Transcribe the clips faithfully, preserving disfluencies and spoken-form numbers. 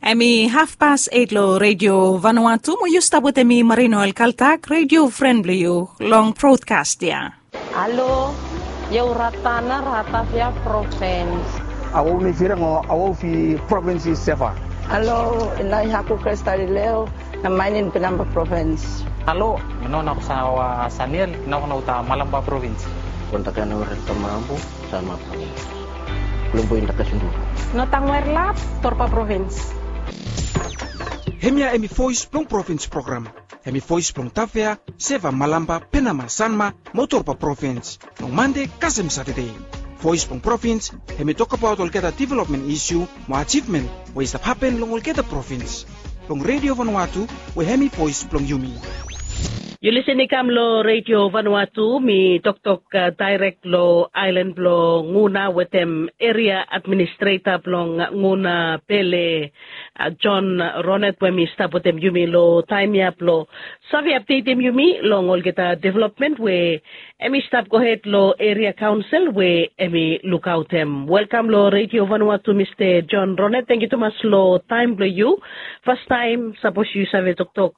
Em i hafpas eit long redio Vanuatu mo yu stap wetem mi Marino Elkaltak, redio fren blong yu long brodkas ya. Halo, yu Ratana, Ratavia provins. Awau ni firang o awau fi provins i seva. Halo, ina i haku Kristalileo, na mainin Pinamba provins. Halo, mi no na kusawa Saniel, na kunawa ta Malamba provins. Kontakana wera tamabu. Sama provins. Kulumbu inda kasundu. Notang werlap, Torpa provins. Hemia hemi voes blong provins program. Hemi voes blong Tafea, Seva, Malamba, Penama, Sanma mo Torpa provins. Long Mande kasem Satade. Voes blong provins hemi tokbaot olgeta developmen isiu mo ajivmen we i stap hapen long olgeta provins. Blong redio Vanuatu we hemi voes blong yumi. Yu lisin i kam long redio Vanuatu, mi toktok daerek long aelan blong Nguna wetem eria administreta blong Nguna Pele, John Ronet we mi stap wetem yumi long taem ya blong save apdetem yumi long olgeta developmen we hemi stap gohed long eria kaonsel we hemi lukaotem. Welkam long redio Vanuatu, Mista John Ronet. Tangkiu tumas long taem blong yu. Fastaem sapos yu save toktok,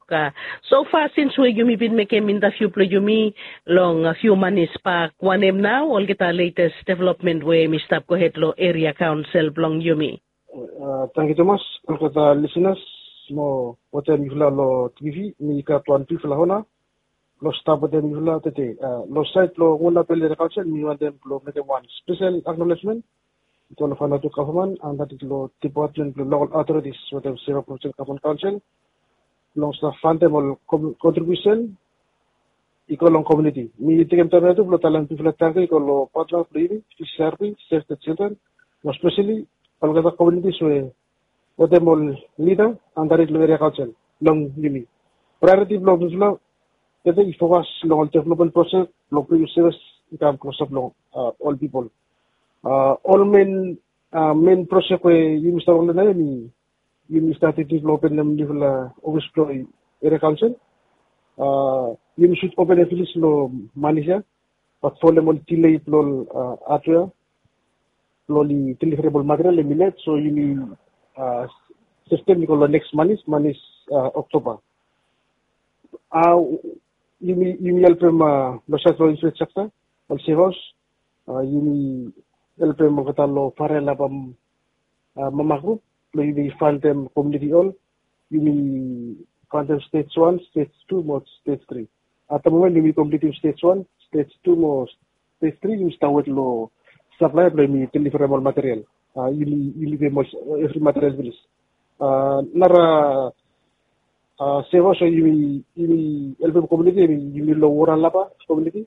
sofa sins we yumi bin mekem intaviu blong yumi long fiu manis bak, wanem nao olgeta letes developmen we hemi stap gohed long eria kaonsel blong yumi? Tangkiu tumas. Olgeta lisinas mo wetem yufala long tivi, mi gat wan bigfala ona blong stap wetem yufala tede. Long saed blong Nguna Pele Eria Kaonsel, mi wantem blong mekem wan spesel aknolejmen i go long Vanuatu gavman, antad i go long depatmen blong lokal autoritis wetem Seva Projek Gavman Kaonsel blong stap fantem ol kontribiusen i go long komuniti. Mi tekem taem ya tu blong talem bigfala tangkiu i go long patna blong yumi, Fisheries, Save the Children, mo speseli olgeta komunitis we wetem ol lida antad long eria kaonsel blong yumi. Praeoriti blong mifala tede i fokas long ol developmen projek blong bringim sevis i kam klosap long ol pipol. Ol men, men projek we yumi stap wok long hem i, yumi stap tingting blong openem niufala ofis blong eria kaonsel. Yumi sud openem finis long manis ya, bat folem ol dilei blong ol hatwea blong oli deliverem ol material hemi let, so yumi seftem i go long neks manis, manis Oktoba. Yumi, yumi helpem long saed blong infrastructure, ol sevaos, yumi helpem olgeta long fare laba mama grup blong yumi fantem komuniti hol. Yumi fantem stej wan, stej tu mo stej tri. At the moment yumi komplitim stej wan, stej tu mo stej tri, yumi stap wet long saplaea blong yumi deliverem ol material. Yumi, yumi pem ol evri material finis. Nara sevaos we yumi, yumi helpem komuniti, yumi long Wora Laba komuniti.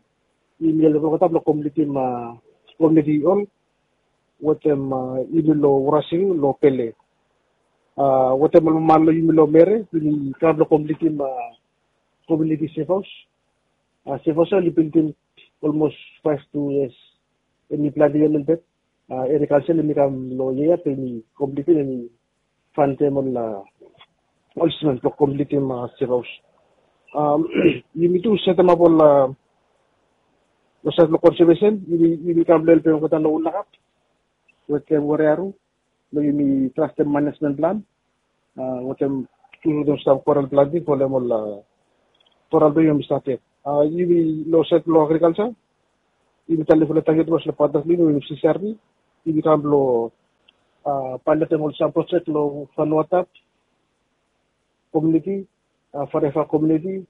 Yumi helpem olgeta blong komplitim komuniti hol. Wetem yumi long Wora Sing long Pele. Wetem ol mama long yumi long Mere, yumi kam blong komplitim komuniti sevaos. Sevaos ya oli bildim olmos faef tu yias. Hemi plante yia melbet. Eria kaonsel hemi kam long yia ya blong hemi komplitim, hemi fantem ol, ol simen blong komplitim sevaos. Yumi tu setemap ol, long saed blong konsevesen, yumi, yumi kam blong helpem olgeta long Ulnakap wetem Werearu blong yumi draftem manejmen plan wetem, tu wetem sam koral planting folem ol koral blong yumi stap ded. Yumi long saed blong agrikalja, yumi talem fulap tangkiu tumas long patna blong yumi wetem C C R B. Yumi kam blong pailotem ol sam projek long Vanuatap komuniti, Farefa komuniti,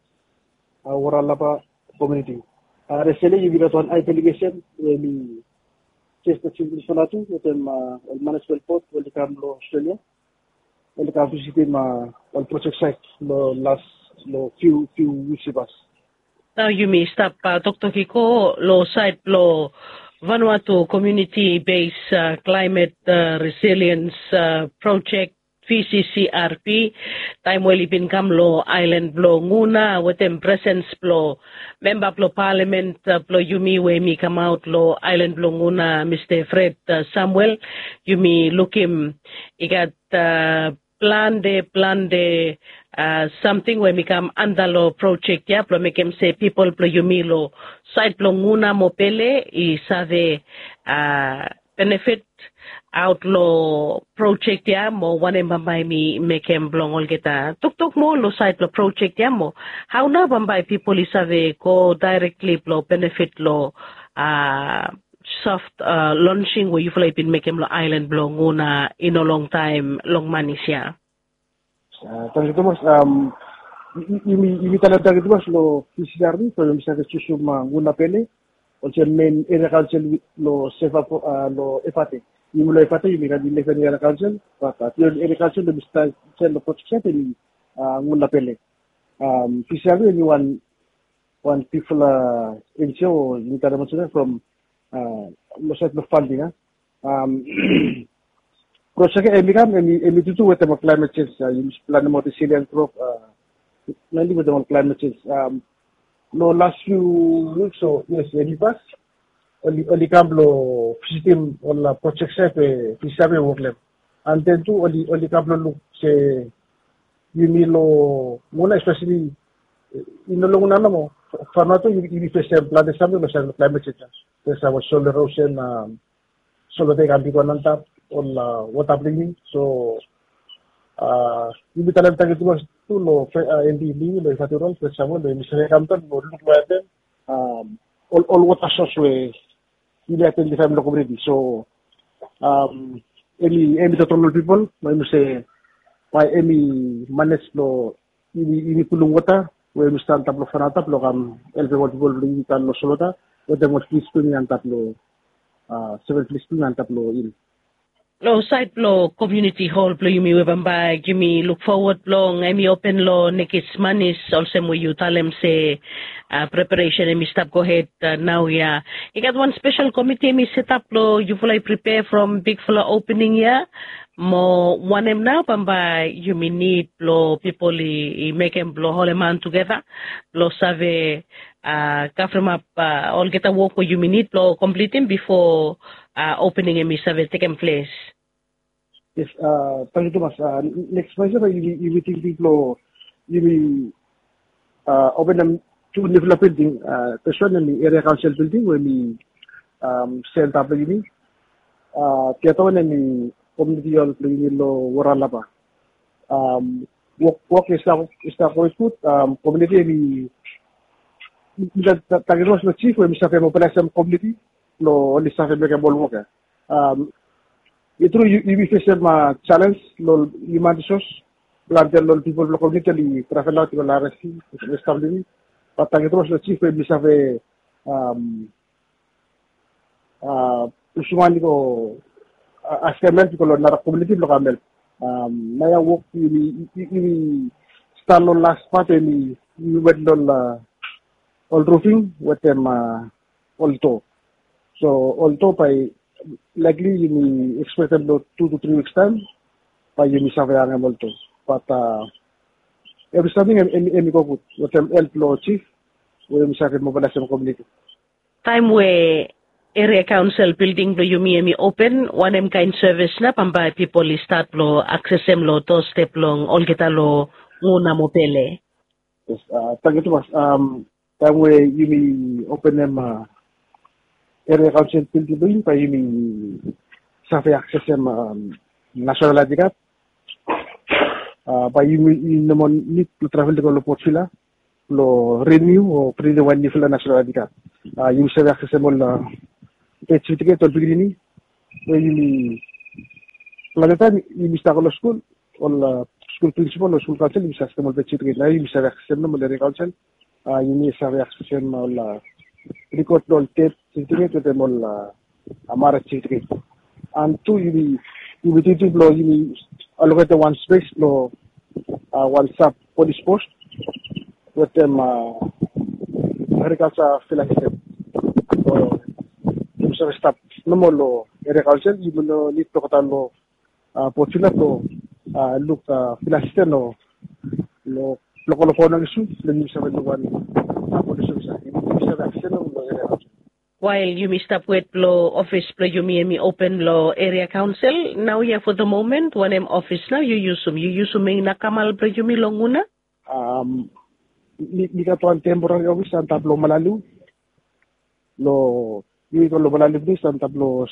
Wora Laba komuniti. Reseli yumi gat wan ae delegesen we hemi jes, jes Vanuatu wetem ol manejmen bod we oli kam long Australia. Oli kam visitim ol projek saet long las, long fiu, fiu wiks i pas. Nao yumi stap toktok i go long saed blong Vanuatu Community Based Climate Resilience Project, V C C R P. Taem we oli bin kam long aelan blong Nguna wetem presens blong memba blong palamen blong yumi we hemi kamaot long aelan blong Nguna, Mista Fred Samuel, yumi lukim i gat plante, plante samting we hemi kam anda long projek ya blong mekem se pipol blong yumi long saed blong Nguna mo Pele i save benefit aot long projek ya mo wanem bambae mi mekem blong olgeta toktok moa long sait blong projek ya mo hao nao bambae pipol i save go daerekli blong benefit long a soft lonsing we yufala i bin mekem long aelan blong una i no longtaem long manis ya. Tangkiu tumas. Yumi talem tangkiu tumas long pisiari from yumi save jusum guna pele olsem men eria kaonsel long sefa long efate. Yumi long efate yumi gat ileven eria kaonsel bat bion eria kaonsel long mi save long projek sait em i guna pele. Pisiari em i wan wan bigfala enjio o yumi talem olsem from long sait blong fanding a projek ya em i kam em i tutu wetem ol klaimet sens. Yumi planem ol resilien grop mainli wetem ol klaimet sens. Long las fiu wiks o yes em i pas oli kam blong visitim ol projek sait we pisiari e wok long em. And then tu oli kam blong luk se yumi long muna espeseli i no long una nomo. Fanoa tu yumi fesem plante samting long sait long klaimet sens. Fesem ol solo erosen solo dei kam bigwan antap ol wota blong yumi. So yumi talem tangkiu tumas tu long empi blong yumi long ifatirol fesem ol yumi save kam daon long luk long etem ol wota sos we yumi aidentifaem long kominiti. So em i em i totol ol pipol mo em i se bae em i manej long yumi pulum wota we yumi stap antap long fanoa antap long kam helpem ol pipol blong yumi tan long solota wetem ol plis blong yumi antap long seven plis blong yumi antap long hil. Long sait blong komiuniti hol blong yumi we bambae yumi lukfowat long em i open long nekis manis olsem we yu talem se preparesen em i stap gohed nao ya. I gat wan spesel komiti em i setap blong yufala i pripea from bigfala opening ya mo wanem nao bambae yumi nid blong pipol i mekem blong holemaon tugeta blong save kavremap olgeta wok we yumi nid blong komplitim bifo opening em i save tekem ples. Yes. Tangkiu tumas. Neks manis ya bae yumi tingting blong yumi openem tu niufala bilding. Fes wan em i eria kaonsel bilding we em i senta blong yumi. Biata wan em i komiuniti hol blong yumi long waralaba. Wok wok i stap go i gud. Komiuniti em i tangkiu tumas long jif we em i save mobilaesem komiuniti blong oli save mekem ol wok ya. I tru yumi fesem jalenj long ol hiuman risos plante long ol pipol blong komiuniti oli travel aot i go long ares i stap long yumi. Bat tangkiu tumas long jif we yumi save pusuman i go askem help i go long nara komiuniti blong kam help. Naoia wok yumi stat long las pat we yumi wet long ol rufing wetem ol do. So ol do bae laikli yumi ekspektem long tu tu tri wiks taem bae yumi save hangem ol do. Bat evri samting em i go gud wetem help blong jif we yumi save mobilaesem komiuniti. Taem we eria kaonsel bilding blong yumi em i open wanem kaen sevis nao bambae pipol i stat blong aksesem long dostep blong olgeta long nguna mo pele? Tangkiu tumas. Taem we yumi openem eria kaonsel bilding blong yumi bae yumi save aksesem nasenal aedi kad. Bae yumi no moa nid blong travel i go long potvila blong riniu o printem wan niufala nasenal aedi kad. Yumi save aksesem ol bet setifiket ol pikinini we yumi plante taem yumi stap go long skul ol skul prinsipol o skul kaonsel yumi save aksesem ol bet setifiket nao yumi save aksesem nomo ol eria kaonsel. Yumi save aksesem ol rikod blong ol det setifiket wetem ol maret setifiket. An tu yumi tingting blong yumi aloketem wan spes blong wan sap polis pos wetem agrikalsa filasistem. Yumi save stap nomo long eria kaonsel yumi no nid blong godaon long potvila blong luk filasistem long lokol of onang isu blong yumi save luk wan polis ofisa yumi save aksesem long eria kaonsel. Wael yumi stap wet blong ofis blong yumi em i open long eria kaonsel naoia fo the moment wanem ofis nao yu yusum yu yusum meinakamal blong yumi long una? Mi gat wan temporari ofis antap long malaliu long Yu i go long Malali ples antap long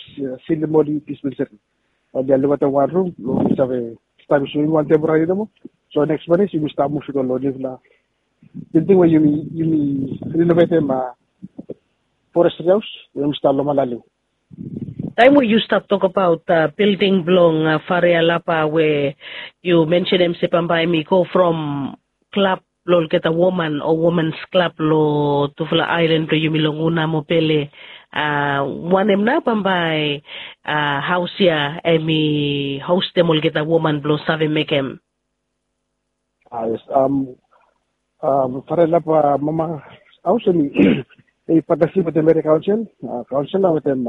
Silimoli Dispensary. Oli ya luk atem wan rum blong yumi save stap yusum yumi wan temporary nomo. So neks man is yumi stap muv i go long nifla bilding we yumi yumi renovetem forestry haus we yumi stap long Malali. Taem we yu stap tokbaot bilding blong Fare Alapa we yu mensenem se bambae mi go from klab blong olgeta woman o womens klab long tufala aelan blong yumi long Guna mo Pele, wanem nao bambae haos ya hem i hostem olgeta woman blong save mekem? Yes. Fare Alapa mama haos hem i patnasip wetem eria kaonsel, kaonsel na wetem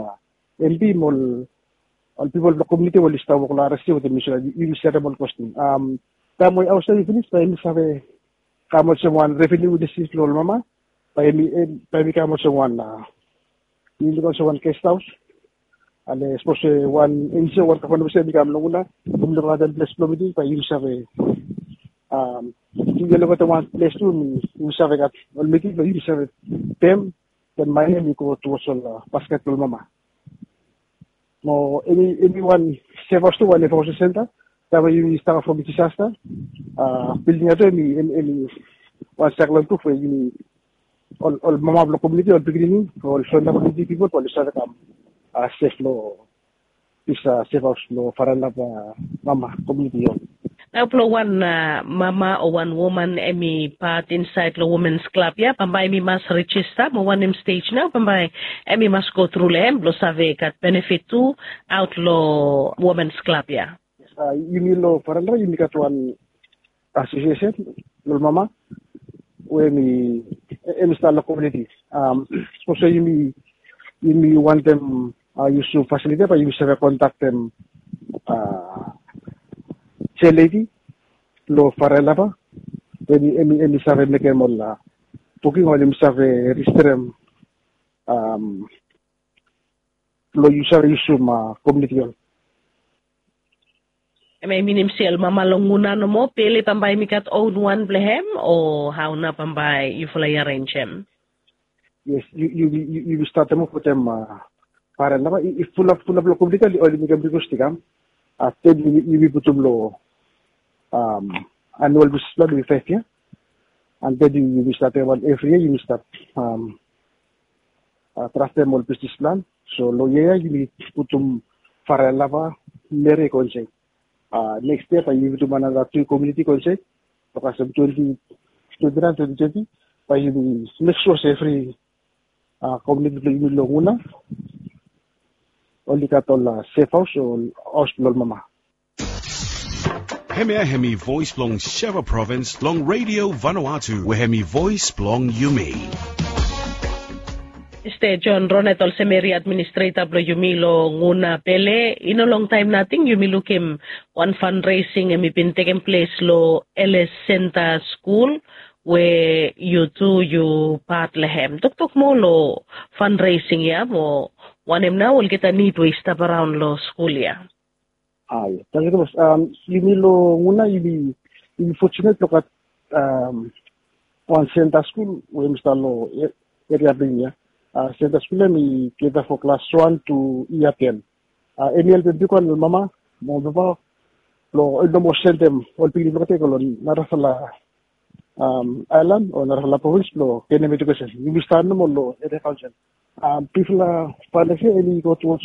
empi mo ol pipol blong komiuniti we oli stap wok long aresi wetem yumi so dat yumi serem ol kwestin. Taem we haos ya i pinis bae yumi save kam olsem wan reveniu inisietiv long ol mama. Bae yumi kam olsem wan yumi luk olsem wan gest haos. Ale sapos we wan enjio wan gavman we sem i kam long Guna, yumi luk atem ples blong miting bae yumi save yumi luk atem wan ples tu yumi save gat ol miting blong yumi save pem. Den mane hem i go tuwos ol basket blong ol mama. Mo hem i wan sef haos tu wan evakuesen senta. Taem we yumi stap from disasta, bilding ya tu hem i wan saiklon pruf we yumi ol mama blong komiuniti ol pikinini ol fren blong komiuniti pipol bae oli save kam sef long dis sef haos blong Fare Alapa mama komiuniti ya. Nao blong wan mama o wan woman hem i pat insaed long womens klab ya bambae hem i mas rejista mo wanem stej nao bambae hem i mas go tru long hem blong save gat benefit tu aot long womens klab ya? Yumi long Fare Alapa yumi gat wan asosiesen long ol mama we hem i stap long komiuniti. Sapos we yumi wantem yusum fasiliti ya bae yumi save kontaktem jealedi long Fare Alapa. Hem i save mekem ol buking o hem i save rejisterem blong yu save yusum komiuniti hol. Hem i minim se ol mama long Guna nomo Pele bambae hem i gat own wan blong hem o hao nao bambae yufala i arenjem? Yes, yumi statem of wetem Fare Alapa i fulap fulap long komiuniti oli mekem rikwes i kam. Afta yumi putum long anual bisnis plan we i faef yia. And then yumi statem wan evri yia yumi stap draftem ol bisnis plan. So long yia ya yumi putum Fare Alapa, Meri i go insaed. Neks yia bae yumi putum another tu komiuniti i go insaed. Long kasem twenti twenti naen twenti twenti bae yumi mek sua se evri komiuniti blong yumi long Guna oli gat ol sef haos o haos blong ol mama. Hemia hemi voes blong Suva provins long Redio Vanuatu we hemi voes blong yumi. Mista John Ronet, olsem eria administreta blong yumi long Guna Pele, i no longtaem nating yumi lukim wan fundraising hemi bin tekem ples long L S Center Skul we yu tu yu pat long hem. Toktok moa long fundraising ya mo wanem nao olgeta nid we i stap araon long skul ya? Ai, tangkiu tumas. Yumi long Guna yumi fortunate blong gat wan senta skul we hemi stap long eria blong yumi ya. Senta skul ya hemi cater for klas wan tu yia ten. Hemi helpem bigwan long mama mo papa blong oli no moa sendem ol pikinini blong olgeta i go long narafala aelan o narafala provins blong genem edukesen. Yumi stap nomo long eria kaonsel. Bigfala faendes ya hemi go tuwos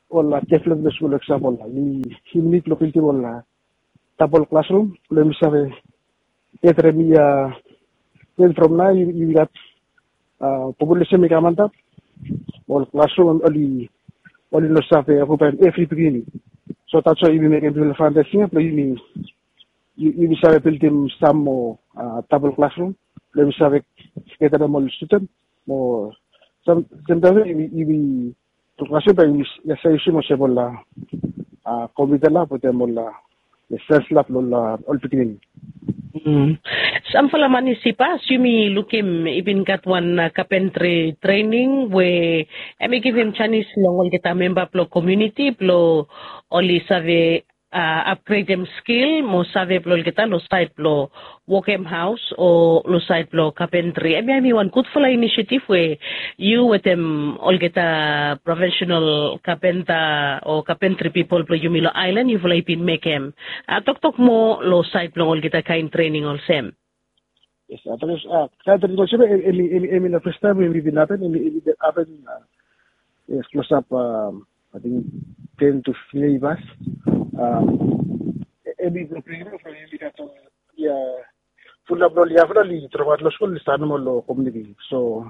ol developmen blong skul, eksampol yumi nid blong bildim ol dabol klasrum blong yumi save getrem yia ten from nao yumi gat populesen i kam antap. Ol klasrum oli no save okupaem evri pikinini. So that's why yumi mekem bigfala faendes ya blong yumi save bildim sam moa dabol klasrum blong yumi save getrem ol studen. Mo samtaem yumi ol klasrum bae yumi save yusum olsem ol kompiuta lab wetem ol saens lab blong ol pikinini. Samfala man i save, yumi lukim i bin gat wan kapentri trening we hemi givim janis long olgeta memba blong komuniti blong oli save upgredem skil mo save blong olgeta long saed blong wokem haos o long saed blong kapentri. Hemia hemi wan gudfala inisiativ we yu wetem olgeta profesenal kapenta o kapentri pipol blong yumi long aelan yufala i bin mekem. Toktok moa long saed blong olgeta kaen trening olsem. Yes, a toktok a kaen trening olsem hemi hemi hemi no fes taem we hemi bin hapen. Hemi hemi bin hapen. Yes, klosap a ting ten tu fiftin yia. Hemi blong bringim from hemi gat ol ia fulap blong ol yangfala oli dropat long skul oli stat nomo long komuniti. So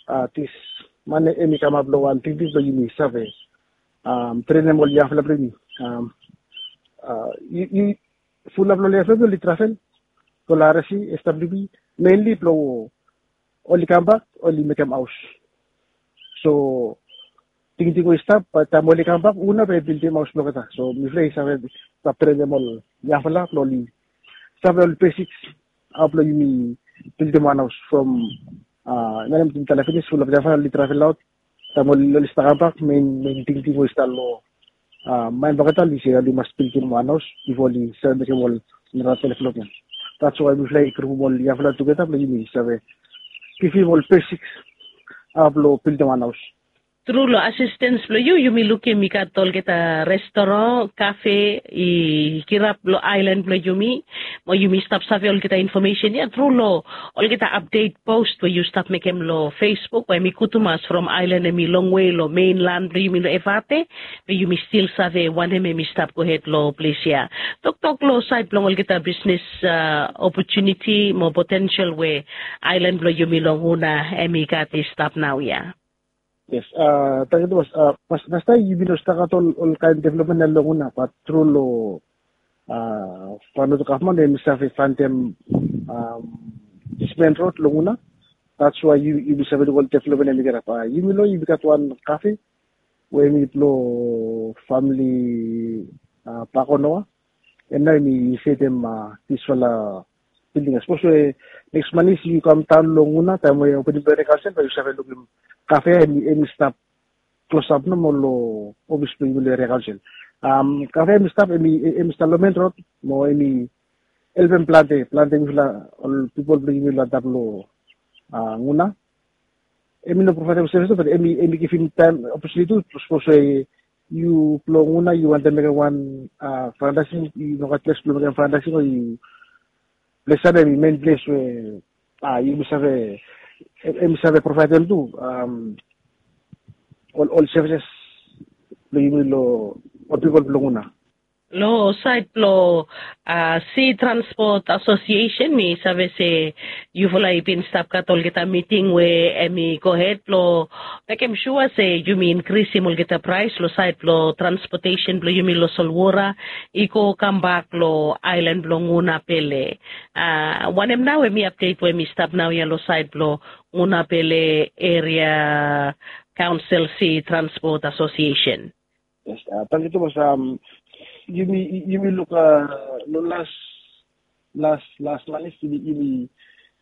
a dis man hemi kamap long wan tingting blong yumi save trenem ol yangfala blong yumi. Fulap long ol yangfala blong oli travel long laresi SWB, menli blong oli kambak oli mekem haos. So tingting we i stap bae taem oli kambak hu nao bae i bildim haos blong olgeta? So mifala i save stap trenem ol yangfala blong oli save ol basiks hao blong yumi bildim wan haos from a nao mi tala finis fulap yangfala oli travel aot. Taem oli stap kambak mein tingting we i stap long maen blong olgeta oli se oli mas bildim wan haos bifo oli save mekem ol nara developmen. That's why mifala i grupum ol yangfala tugeta blong yumi save givim ol basiks hao blong bildim wan haos. Tru long asistens blong yu yumi lukim i gat olgeta restoran, kafe i kirap long aelan blong yumi. Mo yumi stap save olgeta infomesen ia tru long olgeta apdet post we yu stap mekem long Facebook we hemi gud tumas from aelan hemi longwe long menlan blong yumi long Efate. Be yumi stil save wanem hemi stap gohed long ples ia. Toktok long saed blong olgeta bisnes opotuniti mo potensel we aelan blong yumi long Huna hemi gat i stap naoia. Yes, tangkiu tumas. Fastaem yumi no stap gat ol kaen developmen ia long Huna, bat tru long Vanuatu gavman hemi save fandem dismen rod long Huna. That's why yumi save luk ol developmen hemi kirap. Yumi long yumi gat wan kafe we hemi blong famili Bakonoa. Hem nao hemi setem disfala bilding. Sapos we neks manis yu kamdaon long Huna taem we opening blong eria kaonsel bae yu save lukim kafe ia hemi stap klosap nomo long ofis blong yumi long eria kaonsel. Kafe ia hemi stap hemi stap long men rod mo hemi helpem plante plante mifala ol pipol blong yumi long antap long Huna. Hemi no provaedem sevis bat hemi givim taem opotuniti tu. Sapos we yu blong Huna yu wantem mekem wan fundraising, yu no gat ples blong mekem fundraising o yu ples ia hemi men ples we yumi save hemi save provaedem tu ol sevises blong yumi long ol pipol blong Huna. Long saed blong Sea Transport Association mi save se yufala i bin stap gat olgeta miting we hemi gohed blong mekem sua se yumi inkrisim olgeta praes long saed blong transpotesen blong yumi long solwora i go kambak long aelan blong Huna Pele. Wanem nao hemi apdet we hemi stap naoia long saed blong Huna Pele Eria Kaonsel Sea Transport Association? Yes, tangkiu tumas. Yumi luk long las las las manis yumi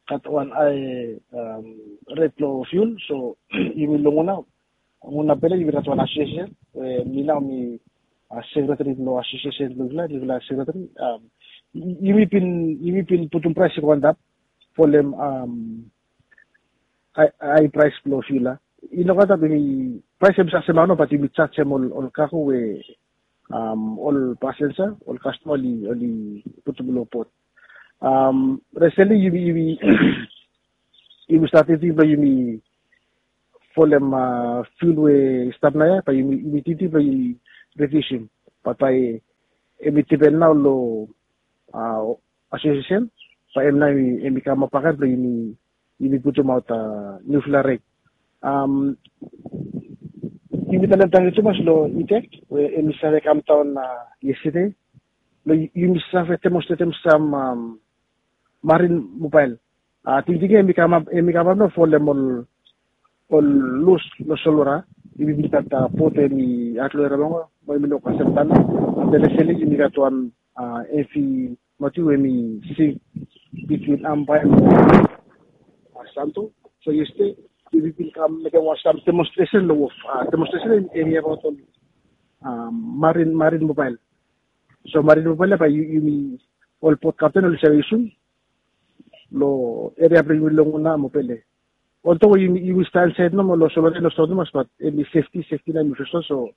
gat wan hae ret blong fiul. So yumi long Huna, Huna Pele yumi gat wan asosiesen we mi nao mi sekreteri blong asosiesen blong yufala, mifala sekreteri. Yumi bin yumi bin putum praes i go antap folem hae praes blong fiul ia. I no gat ap i praes hemi sasem aono bat yumi jajem ol kago we ol pasenja ol kastoma oli putum long pot. Resentli yumi yumi yumi stat tingting blong yumi folem fiul we i stap naoia bae yumi tingting blong yumi rediusim. Bat bae hemi dipen nao long asosiesen bae hem nao hemi kamap bakegen blong yumi putumaot niufala ret. Yumi talem tangkiu tumas long Itek we hemi save kamdaon yestede blong yumi save demonstretem sam marin mobael. Tingting ia hemi kamap hemi kamap nao folem ol ol lus long solwora. Yumi bin gat bot we hemi at long eria blong Huna mo yumi no kasem tana. Afta resentli yumi gat wan evi mati we hemi sink bitwin Ambae mo Santo. So yestede yumi bin kam mekem wan sam demonstresen long wof. Demonstresen hemi abaot ol marin marin mobael. So marin mo pele bae yumi ol bot kapten oli save yusum long eria blong yumi long Nguna mo Pele. Olto we yumi stap insaed nomo long Solwara, long Solwara mas, bat hemi sefti, sefti nao yumi fes long. So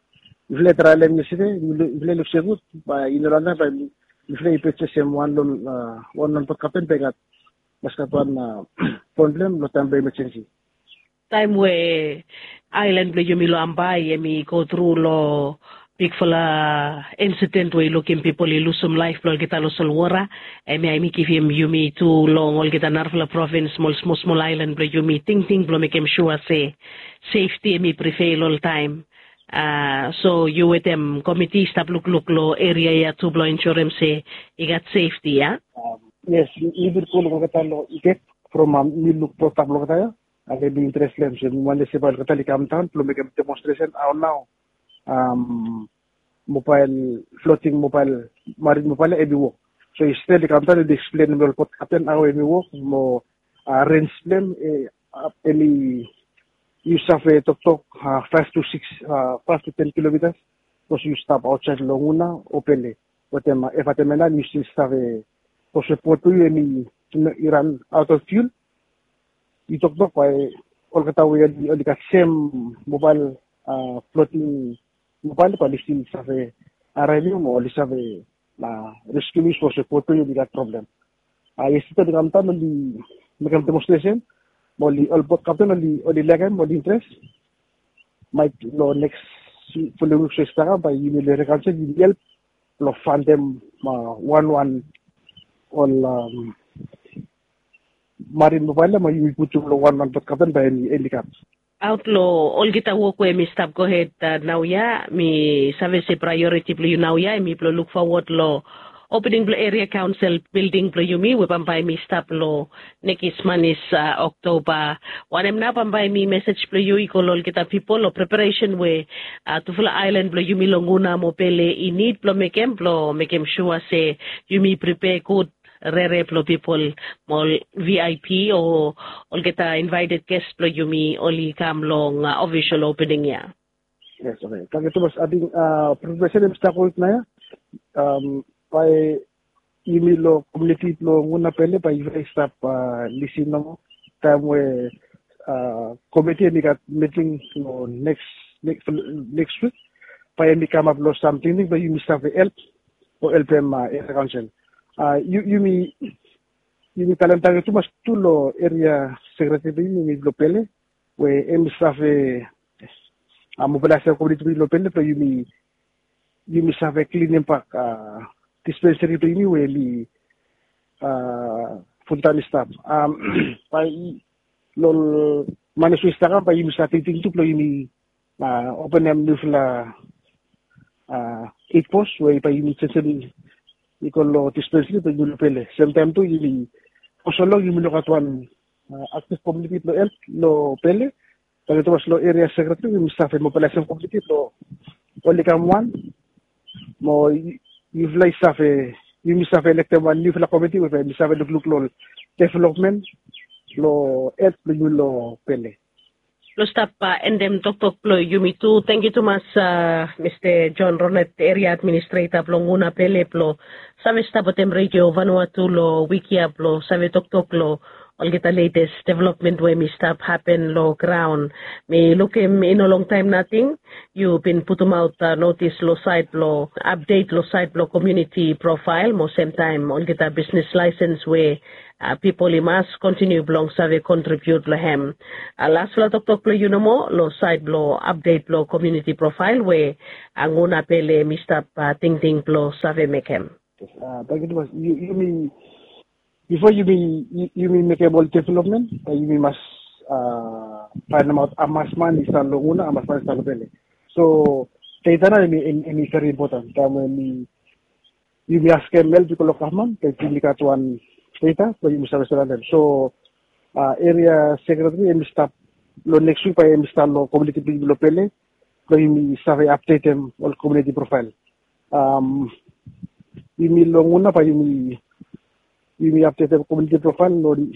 mifala i traelem yestede, mifala i luk se gud bae i no long taem bae mifala i purchase hem wan long, wan long bot kapten bae i gat, mas gat wan fon blong hem long taem blong emergency. Taem we aelan blong yumi long Ambae hemi go tru long bigfala insident we i lukim pipol i lusum laef blong olgeta long solwota, hemia hemi givim yumi tu long olgeta narafala provins mo ol smosmol aelan blong yumi tingting blong mekem sua se sefti hemi privel oltaem. So yu wetem komiti i stap lukluk long eria ya tu blong ensurem se i gat sefti ya? Yes, mi bin go long olgeta long Igek from mi luk bot blong olgeta ya. Hemi interes long hem se mi wantem se bae olgeta oli kamdaon blong mekem demonstresen hao nao mobael, floting mobael, marin mobael ya hemi wok. So yestede oli kamdaon oli eksplenem long ol bot kapten hao hemi wok mo rens blong hem, hemi, yu save toktok faef tu sikis, faef tu ten kilomitas. Sapos yu stap aotsaed long Nguna o Pele wetem Evatemenan, yu stil save, sapos we bot blong yu hemi, i ran aot long fiul, yu toktok bae olgeta we oli gat sem mobael, floting mobael, bae oli stil save araevim mo oli save reskiu yu sapos we bot blong yu oli gat problem. Yestede oli kamdaon oli mekem demonstresen mo ol bot kapten oli laekem, oli interes. Maet long neks folem wik we i stap kam bae yumi long eria kaonsel yumi help blong faenem wanwan ol marin mobael ya mo yumi putum long wanwan bot kapten bae hemi kam. Aot long olgeta wok we hemi stap gohed naoia, mi save se praeoriti blong yu naoia hemi blong luk fowod long opening blong eria kaonsel bilding blong yumi we bambae hemi stap long nekis manis Oktoba. Wanem nao bambae hemi mesej blong yu i go long olgeta pipol long preparesen we tufala aelan blong yumi long Nguna mo Pele i nid blong mekem blong mekem sua se yumi pripea gud rere blong pipol mo ol V I P o olgeta invaeted ges blong yumi oli kam long ofisol opening ya? Yes, okay. Tangkiu tumas. Ating preparesen hemi stap gohed naoia. Bae yumi long komuniti blong Nguna Pele bae yufala i stap lisin nomo taem we komiti hemi gat miting long neks, neks wik, bae hemi kamap long sam tingting blong yumi save help o helpem eria kaonsel. Yumi, yumi talem tangkiu tumas tu long eria sekreteri blong yumi long Pele we hemi save mobilaesem komuniti blong yumi long Pele blong yumi, yumi save klinim bak dispenseri blong yumi we hemi fultaem i stap. Bae long manis we i stap kam bae yumi save tingting tu blong yumi openem niufala eit bos we bae yumi jenjem i go long dispenseri blong yumi long Pele. Semtaem tu yumi, fo so long yumi no gat wan aktiv komuniti blong help long Pele. Tangkiu tumas long eria sekreteri, yumi save mobilaesem komuniti blong oli kam wan mo yufala i save, yumi save elektem wan niufala komiti we bae hemi save lukluk long developmen long hed blong yumi long Pele. Blong stap endem toktok blong yumi tu, tangkiu tumas Mista John Rolet, eria administreta blong Nguna Pele, blong save stap wetem Redio Vanuatu long wik ya blong save toktok long olgeta letes developmen we hemi stap hapen long graon. Mi lukim i no longtaem nating yu bin putumaot notis long saed blong apdet long saed blong komuniti profael mo semtaem olgeta bisnis laesens we pipol i mas kontiniu blong save kontribiut long hem. Lasfala toktok blong yu nomo long saed blong apdet blong komuniti profael we Nguna Pele hemi stap tingting blong save mekem? Tangkiu tumas. Yumi, bifo yumi, yumi mekem ol developmen, yumi mas faenemaot hamas man i stap long Nguna, hamas man i stap long Pele. So data nao hemi, hemi veri impoten taem we yumi askem help i go long gavman, bae yumi gat wan data blong yumi save surraondem. So eria sekreteri hemi stap long neks wik bae hemi stap long komuniti blong yumi long Pele blong yumi save apdetem ol komuniti profael. Yumi long Nguna bae yumi, yumi apdetem komuniti profael long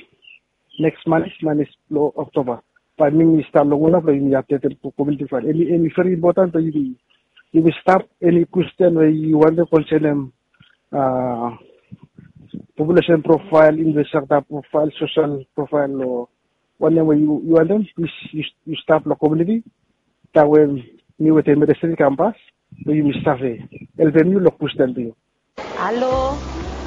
neks manis, manis blong Oktoba. Bae mi mi stap long Nguna blong yumi apdetem komuniti profael. Hemi, hemi veri impoten blong yumi, yumi stap, eni kwestin we yu wantem konsenem a populesen profael, infrastrukta profael, sosel profael long wanem we yu wantem yu stap long komuniti. Tawe mi wetem ministri kambas we yumi save helpem yu long kustan bilong yu. Halo,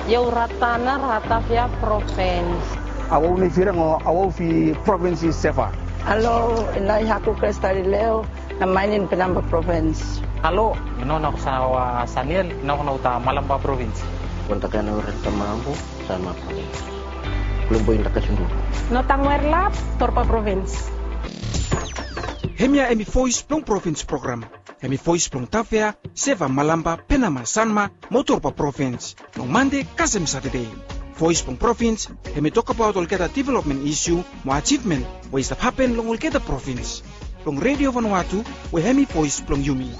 yu ratana ratafia provins. Awa uni firang o awa ufi provins i seva. Halo, inai haku krestali leo na mainin pinamba provins. Halo, ino na kusawa saniel ina kuna uta malamba provins. Wanta kana urat tamabu sama provins. Kulumbu inda kasundu. No tangwer lap torpa provins. Hemia hemi vois blong provins program. Hemi vois blong tafea, seva, malamba, penama, sanma, motorba provins. Long mande kasem satade. Vois blong provins hemi tokabaot olgeta developmen isu mo ajivmen we i stap hapen long olgeta provins. Long redio vanua tu we hemi vois blong yumi.